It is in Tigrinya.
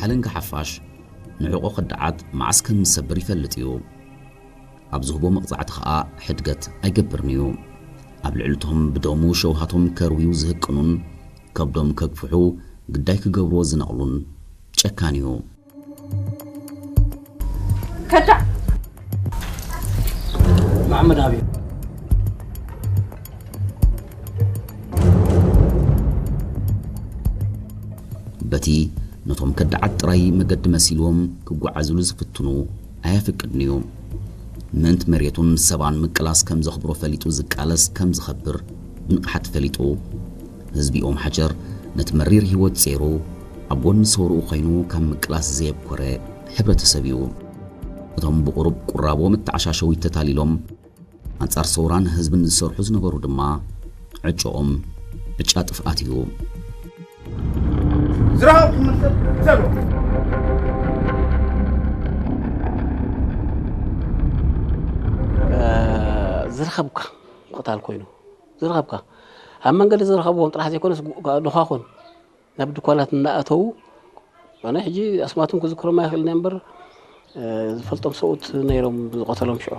ኣለንጋ ሓፋሽ ንዕቆ ከዳዓት መዓስ ከም ዝሰብር ይፈልጥ እዩ። ኣብ ዝህቦ መቕጻዕቲ ኸኣ ሕድገት ኣይገብርን እዩ። ኣብ ልዕልቶም ብደሙ ሸውሃቶም ከርውዩ ዝህቅኑን ከብዶም ከግፍሑ ግዳይ ክገብርዎ ዝነቕሉን ጨካን እዩ። ከዳዕ መሓመድ ኣበይ? በቲ ነቶም ከዳዓት ጥራይ መገዲ መሲልዎም ክጓዓዙሉ ዝፍትኑ ኣየፍቅድን እዩ። ምእንቲ መሬቱን ሰባን ምቅላስ ከም ዘኽብሮ ፈሊጡ ዝቃለስ ከም ዝኸብር ብንቕሓት ፈሊጡ፣ ህዝቢ ኦም ሓጀር ነቲ መሪር ህይወት ጼሩ ኣብ ጎኒ ሰውርኡ ኮይኑ ካብ ምቅላስ ዘየብኮረ ሕብረተሰብ እዩ። እቶም ብቑሩብ ቁራቦ መተዓሻሸዊት ተታሊሎም ኣንጻር ሰውራን ህዝብን ዝሰርሑ ዝነበሩ ድማ ዕጭኦም ዕጫ ጥፍኣት እዩ። ዝረኸብኩም ሰብ ዘሎ ዝረኸብካ ምቕታል ኮይኑ ዝረኸብካ ኣብ መንገዲ ዝረኸብዎም ጥራሕ ዘይኮነስ ጓ- ጓ- ድኳኹን ናብ ድኳናት እናኣተዉ ኣነ ሕጂ ኣስማቶም ክዝክሮም ኣይኽእልን እየ እምበር ዝፈልጦም ሰብኡት ነይሮም ዝቐተሎም ሽዑ።